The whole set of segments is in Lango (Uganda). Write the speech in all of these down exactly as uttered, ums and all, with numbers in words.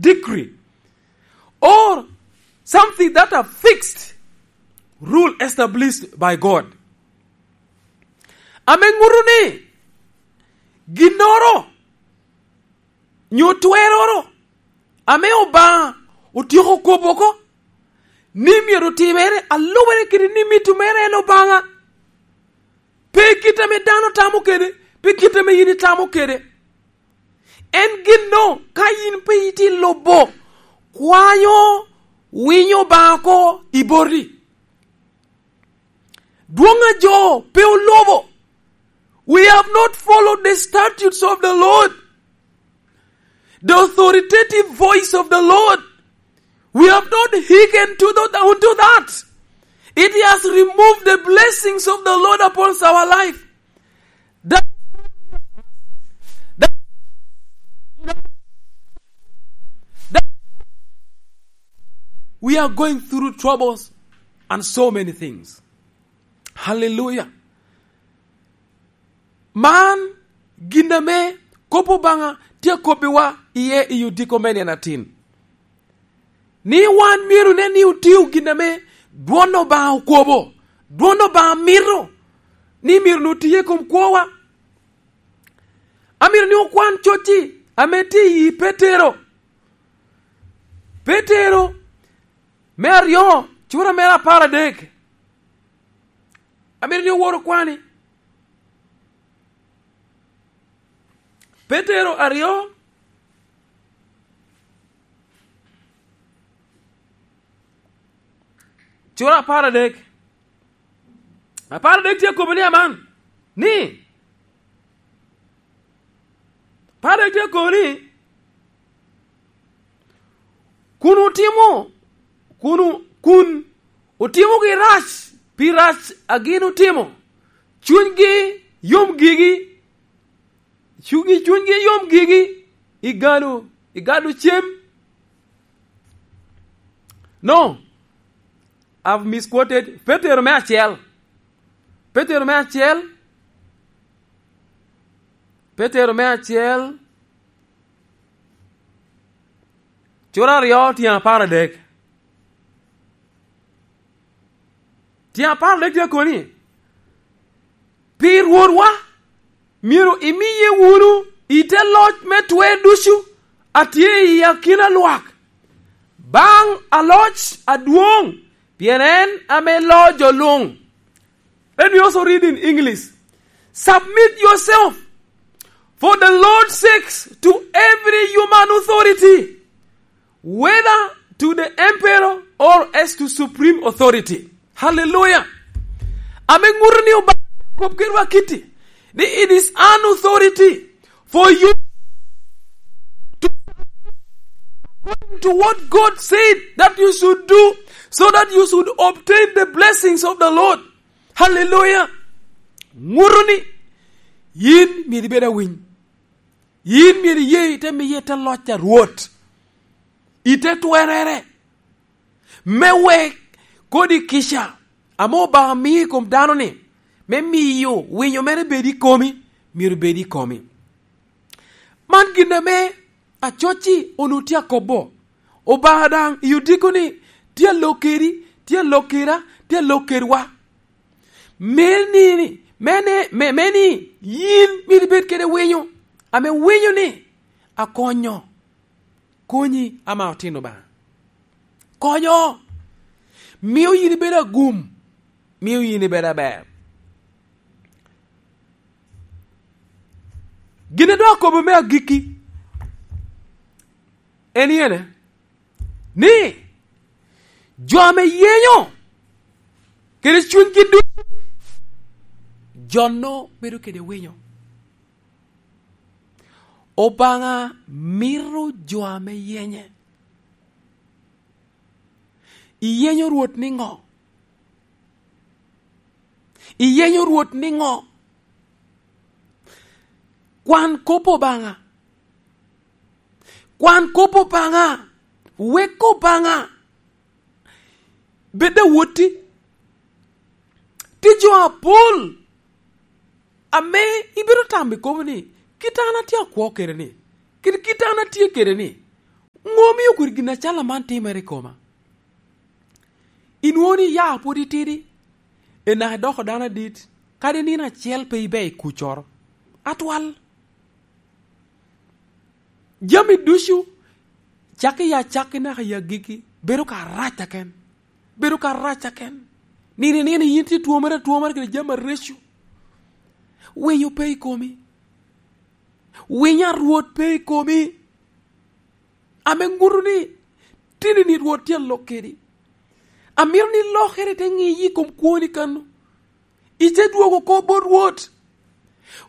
decree or something that are fixed, rule established by God. Ame ŋuto ni ginnoro nyo tweroro ame Obaŋa otyeko kobo oko ni myero otimere alubere kede ni mito mere en Obaŋa. Pe kit ame dano tamo kede, pe kit ame yin itamo kede. En gin no, ka yin pe itye lubo, kwanyo winyo Obaŋa oko i boti. Dwoŋ a jo pe olubo. We have not followed the statutes of the Lord, the authoritative voice of the Lord. We have not hearkened to the, unto that. It has removed the blessings of the Lord upon our life. That, that, that we are going through troubles and so many things. Hallelujah. Man gin ame kop Obaŋa tye akobbiwa iye i odiko me nino atin. Ni wan myero nen ni otio gin ame dwon Obaŋa okobo, dwon Obaŋa mito ni myero ni otiye i kom kwowa. Amito ni okwan cocci ame tye i Petero. Petero me aryo, cura mere apar adek. Amito ni owor okwani. Petero aryo, cura apar adek. Apar adek tye akobo ni aman, ni, apar adek tye akobo ni, kun otimo, kun o-, kun otimogi rac pi rac a gin otimo, cunygi yom gigi, cunygi, cunygi yom gigi, i gado, i gado cem. No, I've misquoted. Petero me acel. Petero me acel. Petero me acel. Cura aryo tyen apar adek. Tyen apar adek tye koni, pi Rwotwa, myero imiye wunu i te loc me twer ducu a tye i akina lwak, baŋ aloc adwoŋ, pien en ame loo jo luŋ. Let me also read in English. Submit yourself for the Lord's sakes to every human authority, whether to the emperor or as to supreme authority. Hallelujah. Ame ŋuto ni Obaŋa kop kedwa kiti, ni it is an authority for you to, according to what God said that you should do, so that you should obtain the blessings of the Lord. Hallelujah. Ŋuto ni yin myero ibed awiny. Yin myero iye ite miye te loc a Rwot, ite twerere, me wek kodi kica ame Obaŋa mio i kom dano-ni, me miyo winyo mere bed i komi, myero bed i komi. Man gin ame acoc-ci onwoŋo tye akobo. Obaŋa daŋ i odiko-ni tye alok kedi, tye alok keda, tye alok kedwa. Me ni, me ne, me, me ni yin myero ibed kede winyo, ame winyo-ni akonyo, konyi ama otino Obaŋa. Konyo, mio yin ibedo agum, mio yin ibedo aber. Gin a dok akobo me agikki en yene, ni jo ame yenyo kede cunygi ducu, jo-no bedo kede winyo. Obaŋa mito jo ame yenye. Iyenyo Rwot niŋo? Iyenyo Rwot niŋo? Kwan kop Obaŋa. Kwan kop Obaŋa. Wek Obaŋa bed awotti. Tye jo apol ame ibedo tamo i komi ni, "Kit an atye akwo kede-ni, kede kit an atye kede-ni, Ŋo omio kodi gin acalo man timere i koma? Inwoŋo ni ya pwod itidi, enaka idoko dano adit, kadi nino acel pe ibe i kuccoro. Atwal. Jami ducu, cakki i acakki naka i agikki, bedo ka rac aken. Bedo ka rac aken. Nino i nino yin tye twomere atwomere kede jami areco. Winyo pe i komi. Winyo a Rwot pe i komi. Ame ŋuto ni, tini ni Rwot tye alok kedi. Amito ni lokere te ŋiyi i kom kwoni kano. Ite dwogo oko bot Rwot.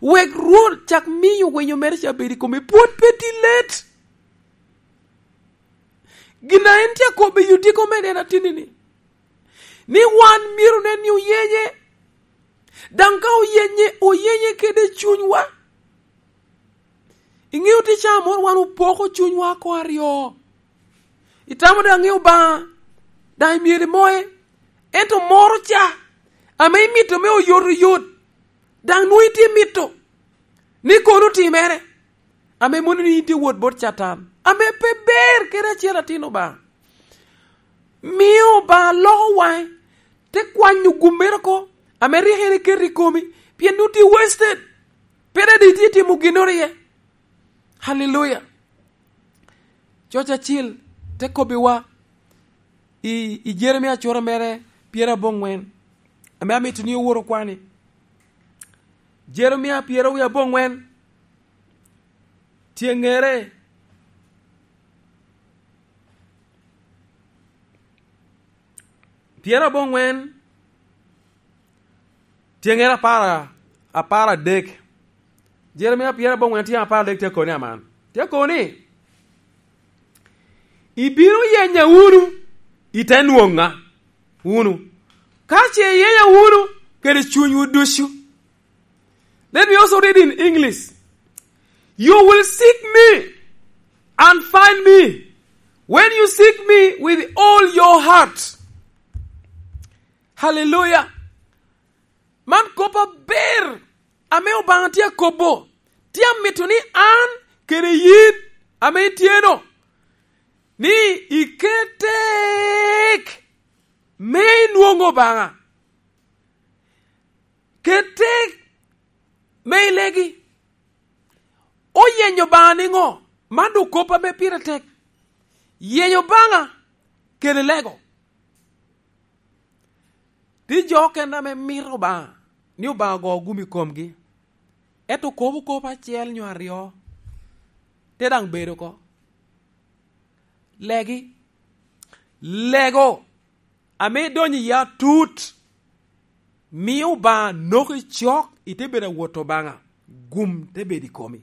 Wek Rwot cak miyo winyo mere ca bed i komi. Pwod pe tye let. Gin a en tye akobbe i otiko me neno atini-ni, ni wan myero nen ni oyenye. Daŋ ka oyenye, oyenye kede cunywa. Iŋeo tye ca moro wan opoko cunywa oko aryo. Itamo daŋ ŋeo Obaŋa, daŋ imyero imoye. Ento moro ca, ame imito me oyotoyot, daŋ nwoŋo itye mito ni kono otimere, ame mono ni in tye wot bot Catan, ame pe ber kede acel atin Obaŋa. Mio Obaŋa loko waŋe, te kwanyo gum mere oko, ame rik en eketo i komi, pien nwoŋo tye wasted. Pe daŋ itye timo ginnoro iye. Haleluya. Coc acil te kobbiwa i, i Jeremia cura mere pyeraboŋwen, ame amito ni owor okwani. Jeremia pyerawiye aboŋwen, tyeŋere pyeraboŋwen, tyeŋere apar, apar adek. Jeremia pyeraboŋwen tyeŋ apar adek tye koni aman. Tye koni, "Ibino yenya wunu, ite nwoŋa wunu, ka ce iyenya wunu kede cunywu ducu." Let me also read in English. "You will seek me and find me when you seek me with all your heart." Hallelujah. Man kop aber ame Obaŋa tye akobo. Tye amito ni an kede yin ame itye-no, ni iket tek me inwoŋ Obaŋa. Ket tek me ilegi. Oyenyo Obaŋa niŋo? Man doŋ kop ame pire tek. Yenyo Obaŋa kede lego. Tye jo okene ame mito Obaŋa, ni Obaŋa ogo gum i komgi. Ento kobo kop acel nyo aryo, te daŋ bedo oko. Legi. Lego ame idonyo iye atut, mio Obaŋa noki cok, ite bedo awot Obaŋa, gum te bedo i komi.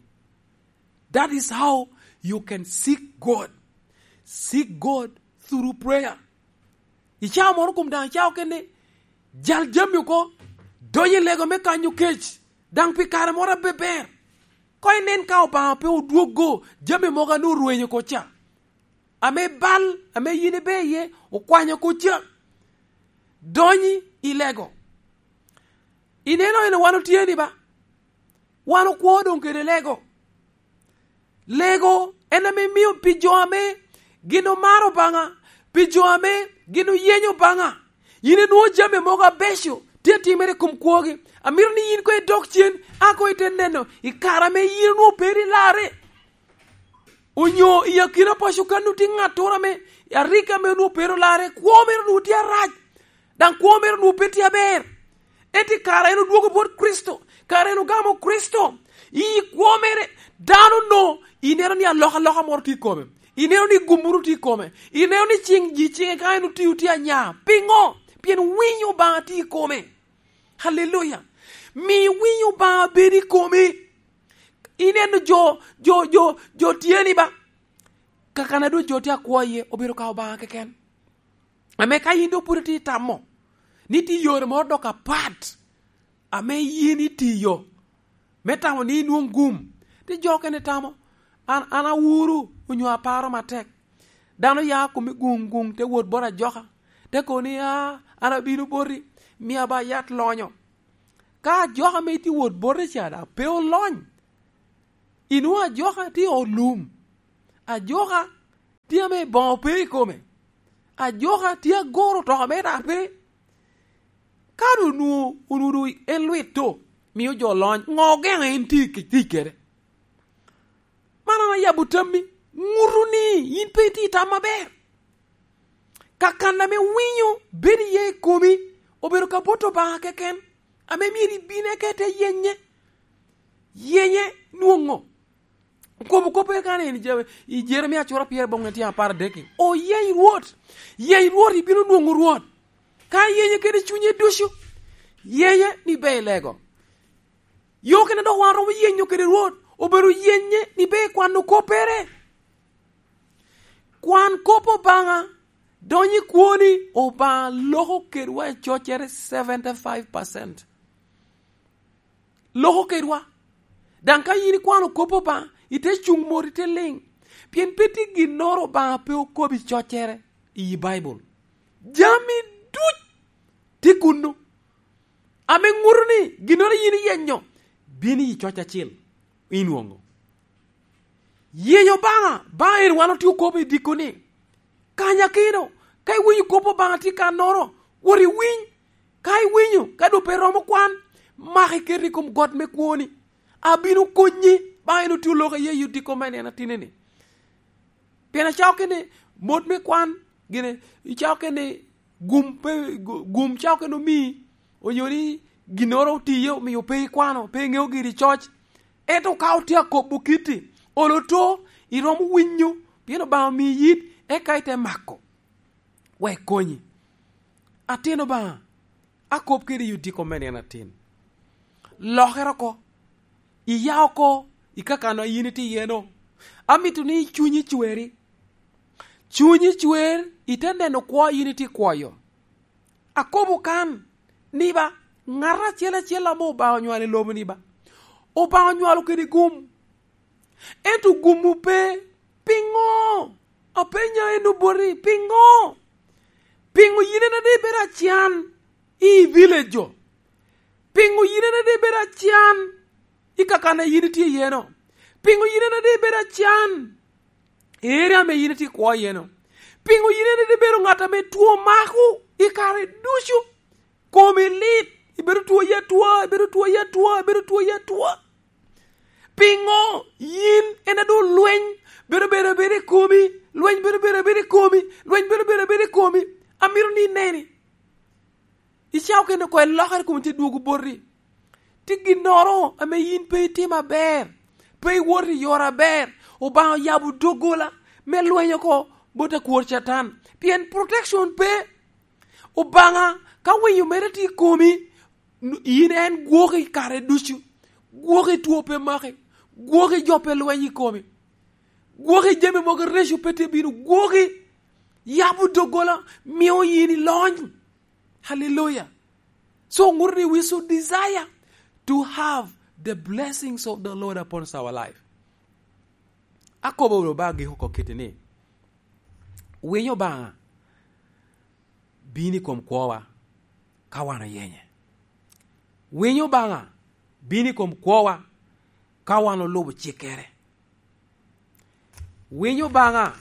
That is how you can seek God. Seek God through prayer. I cawa moro kom daŋ cawa kene, jal jami oko, donyo i lego me kanyo kec, daŋ pi kare moro abeber. Koŋ inen ka Obaŋa pe odwoggo jami mogo ame orwenyo oko ca, ame bal, ame yin ibe iye, okwanyo oko ca. Donyi i lego. Ineno eno wan otye ni ba? Wan okwo doŋ kede lego. Lego en ame mio pi jo ame gin omaro Obaŋa, pi jo ame gin oyenyo Obaŋa, yin inwoŋo jami mogo abeco tye atimere i kom kwogi. Amito ni yin koŋ idok cen, a koŋ ite neno i kare ame yin onwoŋo pe iri larre, onyo i akina paco kan onwoŋo tye ŋattoro ame arik ame onwoŋo pe iri larre, kwo mere onwoŋo tye arac, daŋ kwo mere onwoŋo pe tye aber. Ento i kare en odwogo bot Kricito, kare en ogamo Kricito, i kwo mere, dano onwoŋo ineno ni alokaloka moro tye i kome, ineno ni gum moro tye i kome, ineno ni ciŋ ji ciŋe ka en otio tye anya. Piŋo? Pien winyo Obaŋa tye i kome. Haleluya! Mi winyo Obaŋa bed i komi. Ineno jo, jo, jo, jo tye ni ba? Kakana doŋ jo tye akwo iye, obedo ka Obaŋa keken. Ame ka yin doŋ pwod itye itamo ni tye yore moro dok apat ame yin itiyo me tamo ni inwoŋ gum, tye jo okene tamo, "An, an awuro onyo aparo matek." Dano ya kome guŋ guŋ, te wot bot ajoka, te kobo ni, "A, an abino boti, mia ba yat lonyo." Ka ajoka ame itye wot bote ca daŋ pe olony, inwoŋo ajoka tye i ot lum. Ajoka tye ame boŋo pe i kome. Ajoka tye agoro otoka mere pe. Ka onwoŋo, onwoŋo en lwit to, mio jo lony, ŋo ogeŋo en tye i tic kede? Man an ayabo tammi, ŋuto ni yin pe itye i tam aber. Kakan ame winyo bedo iye i komi, obedo ka bot Obaŋa keken, ame myero ibin eka ite yenye. Yenye nwoŋo. Okobo kop eka ni, i Jeremia acura pyeraboro tyen apar adek-ki, "Oyeny Rwot, yeny Rwot, ibino nwoŋo Rwot. Ka iyenye kede cunye ducu, yenye ni ber i lego." Yo kene dok wan romo yenyo kede Rwot, obedo yenye ni ber i kwano koppere. Kwan kop Obaŋa, donyo i kwoni, Obaŋa loko kedwa i coccere seventy-five percent. Loko kedwa. Daŋ ka yin ikwano kop Obaŋa, ite cuŋ mot, ite liŋ. Pien pe tye ginnoro Obaŋa pe okobo i coccere i Baibul. Jami duc tye kunnu. Ame ŋuto ni ginnoro yin iyenyo, bino i coc acil, inwoŋo. Yenyo Obaŋa, Obaŋa en wan otye okobo i dikko ni, kanyakino, ka iwinyo kop Obaŋa tye kannoro, wot iwiny. Ka iwinyo, ka doŋ pe romo kwan, mak iket i kom got me kwoni. Abino konyi, Obaŋa en otye oloko iye i dikko me nino atinni. Pien acako kene mot me kwan, gine, icako kene gum pe, gu-, gum cako kene omii, onyo ni ginnoro otiye omio pe ikwano, pe iŋeo giri i coc. Ento ka otye akobo kitti, olo to, iromo winyo, pien Obaŋa omii yit, eka ite mako, wek konyi. Atin Obaŋa, akop kede i odiko me nino atin. Lokere oko, iya oko i kakano a yin itye iye-no. Amito ni cunyi cweri. Cunyi cwer, ite neno kwo a yin itye ikwoyo. Akobo kan, ni ba, ŋat acel acel ame Obaŋa onywalo i lobo-ni ba, Obaŋa onywalo kede gum. Ento gumwu pe. Piŋo? Apenya en oboti, piŋo? Piŋo yin en ade ibedo acan i village-o? Piŋo yin en ade ibedo acan i kakana yin itye iye-no? Piŋo yin en ade ibedo acan i area ame yin itye ikwo iye-no? Piŋo yin en ade ibedo ŋat ame two mako i kare ducu? Komi lit, ibedo two ya two, ibedo two ya two, ibedo two ya two. Piŋo yin en a doŋ lweny bedo bedo bedo i komi, lweny bedo bedo bedo i komi, lweny bedo bedo bedo i komi? Amito ni ineni. Icako kene oko ilokere kom tye dwogo boti. Tye ginnoro ame yin pe itimo aber, pe iwoto i yore aber, Obaŋa oyabo doggola me lweny oko bot akwor Catan, pien protection pe. Obaŋa ka winyo mere tye i komi, n-, yin en gwoki kare ducu, gwoki two pe maki, gwoki jo pe lweny i komi, gwoki jami mogo reco pe tye bino, gwoki yabo doggola, mio yin ilony. Hallelujah. So, ŋuto ni we should desire to have the blessings of the Lord upon our life. Akobo wunu ba agiko oko kiti ni, winyo Obaŋa bino i kom kwowa ka wan oyenye. Winyo Obaŋa bino i kom kwowa ka wan olubo cikkere. Winyo Obaŋa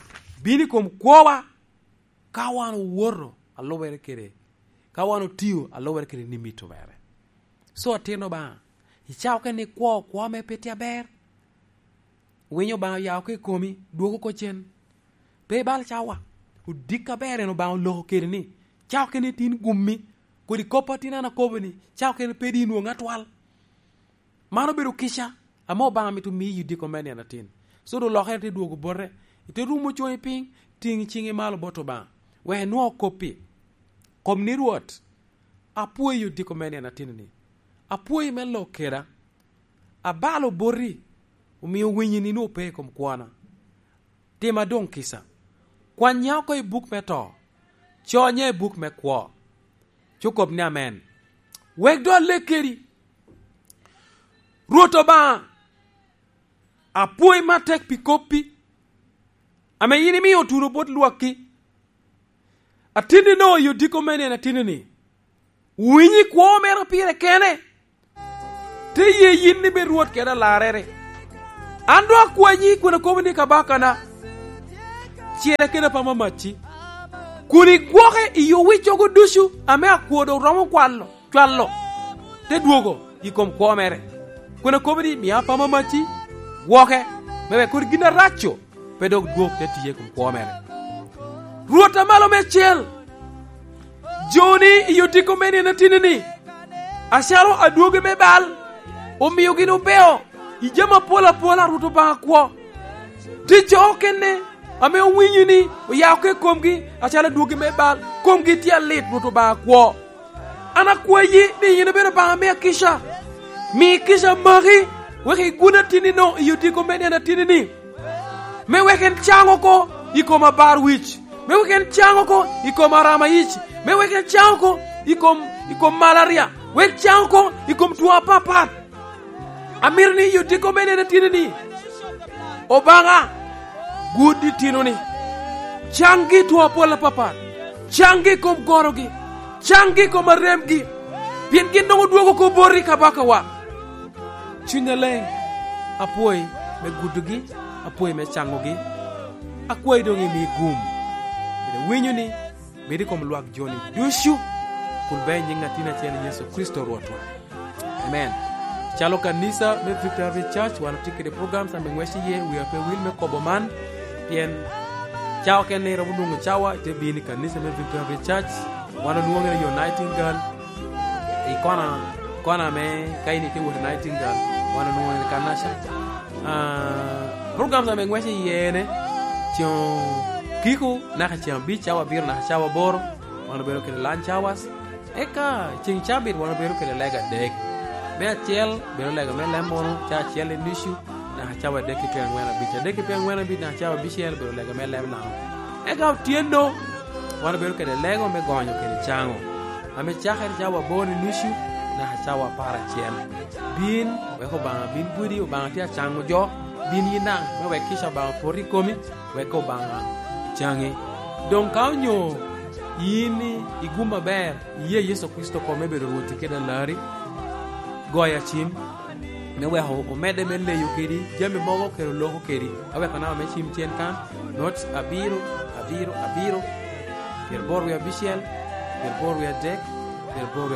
bino i kom kwowa ka wan owoto alubere kede, ka wan otio alubere kede ni mito mere. So, atin Obaŋa, icako kene ni kwo, kwo ame pe tye aber. Winyo Obaŋa oya oko i komi, dwogo oko cen. Pe ibal cawa. Odik aber en Obaŋa oloko kede ni, cako kene tin gummi, kodi kop a tin an akobo ni, cako kene pe di inwoŋ atwal. Man obedo kica ame Obaŋa mito miyi i diko me nino atin. So, doŋ lokere te dwogo bote, ite rumo coŋi piny, tiŋ ciŋi malo bot Obaŋa, wek inwoŋ kop-pi. Kom ni, Rwot, apwoyi odiko me nino atin-ni. Apwoyi me lok keda. Abalo boti, omio winyi ni nwoŋo pe i kom kwana. Tima doŋ kica. Kwanya oko i buk me to, conya i buk me kwo. Cukob ni amen. Wek doŋ alek kedi. Rwot Obaŋa, apwoyi matek pi koppi, ame yin imio otuno bot lwakki. Atinni no i odiko me nino atinni-ni, winyi kwo mere pire kene. Te ye yin ni bed Rwot kede Alarrere. An doŋ akwanyi kun akobo ni, Kabakana, cere kede apama macci, kun igwoke i owiccogo ducu ame akwo dok romo kwalo, cwalo, te dwogo i kom kwo mere, kun akobo ni, "Mia apama macci, gwoke, me wek kodi gin arac-cu pe dok dwog te tiye i kom kwo mere." Rwot a malo meicel, joni i otiko me nino atini-ni, acalo adwogi me bal, omio gin obeo i jami apol apola a Rwot Obaŋa kwo. Tye jo okene ame owinyo ni oya oko i komgi acalo adwogi me bal, komgi tye alit, Rwot Obaŋa kwo. An akwayi ni yin ibed Obaŋa me akica, mi kica maki, wek igun atinni-no i otiko me nino atini-ni, me wek en caŋ oko i kom abar wic, me wek en caŋ oko i kom arama yic, me wek en caŋ oko i kom, i kom malaria, wek caŋ oko i kom two apapat. Amito ni i otiko me nino atini-ni, Obaŋa, gud itino-ni, caŋgi two apol apapat, caŋgi i kom gorogi, caŋgi i kom aremgi, pien gin doŋ odwogo oko boti, Kabakawa. Cuny Aleŋ, apwoyi me gudogi, apwoyi me caŋogi, akwayi doŋ imi gum, kede winyo ni bed i kom lwak joni ducu, kun be i nyiŋ Atin acel, Yecu Kricito Rwotwa. Amen. Calo kanisa me Victory Church, wan otye kede programs ame ŋwec iye, wia pe wil me kobo man, pien cawa kene iromo nwoŋo cawa ite bino i kanisa me Victory Church. Wan onwoŋere yo Nightingale, i kona, kona me ka in itye wot i Nightingale, wan onwoŋere kanaca. Ah, programs ame ŋwec iye ene, ceŋ kiko naka ceŋ abic, cawa abiro naka cawa aboro, wan obedo kede lunch hours. Eka ceŋ cabit wan obedo kede lega adek. Me acel bedo lega me leb munu, ca acel i nucu, naka cawa adek ki twe aŋwen abic. Adek ki twe aŋwen abic naka cawa abicel bedo lega me leb Laŋo. Eka otyeno, wan obedo kede lego me gonyo kede caŋo, ame cakere cawa aboro i nucu, naka cawa apar acel. Bin, wek Obaŋa bin gudi, Obaŋa tye acaŋo jo, bin yin daŋ, me wek kica Obaŋa opot i komi, wek Obaŋa caŋi. Doŋ ka onyo yin i, i gum aber, iye Yecu Kricito kome bedo Rwoti kede Alarri, goyo acim, me weko omedde me leyo kedi jami mogo kede oloko kedi, aweko namba me cim cen kan, not abiro, abiro, abiro, pyeraboro wie abicel, pyeraboro wie adek, pyeraboro